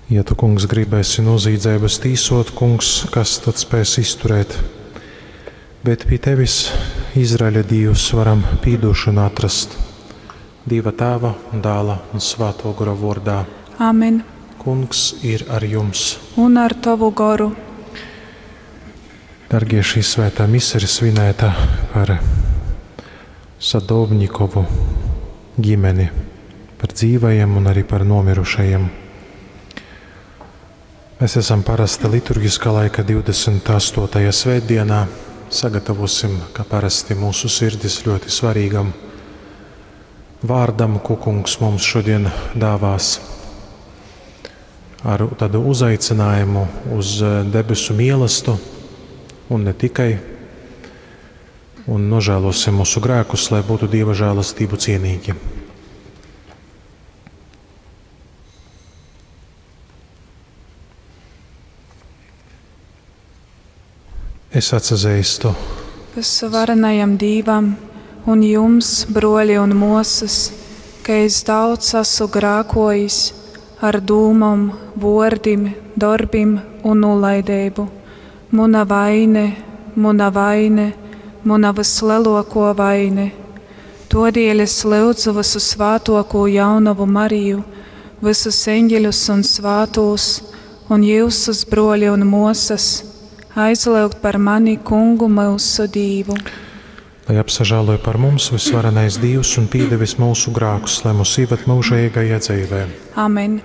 Ja tu, kungs, gribēsi nozīdzeibas tīsot, kungs, kas tad spēs izturēt? Bet pie tevis, Izraeļa Dīvs, varam pīdošanu atrast. Dieva tēva un dēla un svēto gora vārdā. Amen. Kungs ir ar jums. Un ar tavu goru. Dargie, šī svētā mise ir svinēta par Sadovņikovu ģimeni, par dzīvajiem un arī par nomirušajiem. Mēs esam parasti liturgiskā laika 28. svētdienā. Sagatavosim, kā parasti, mūsu sirdis ļoti svarīgam vārdam, ko kungs mums šodien dāvās. Ar tādu uzaicinājumu uz debesu mielastu un ne tikai. Un nožēlosim mūsu grēkus, lai būtu Dieva žēlastību cienīgi. Es atsazīstu Visuvarenajam Dīvam un jums, broļi un mosas, ka es daudz esmu grākojis ar dūmom, vordim, darbim un nulaidību. Muna vaine, muna vaine, muna vislielāko vaine. Todēļ es lūdzu visu svātoko jaunavu Mariju, visus eņģeļus un svātos, un jūsus broļi un mosas, aizlūgt par mani kungu mūsu Dīvu. Lai apsažāloja par mums visvarenais Dievs un piedevis mūsu grākus, lai mūs ieved mūžīgajā dzīvē. Amen.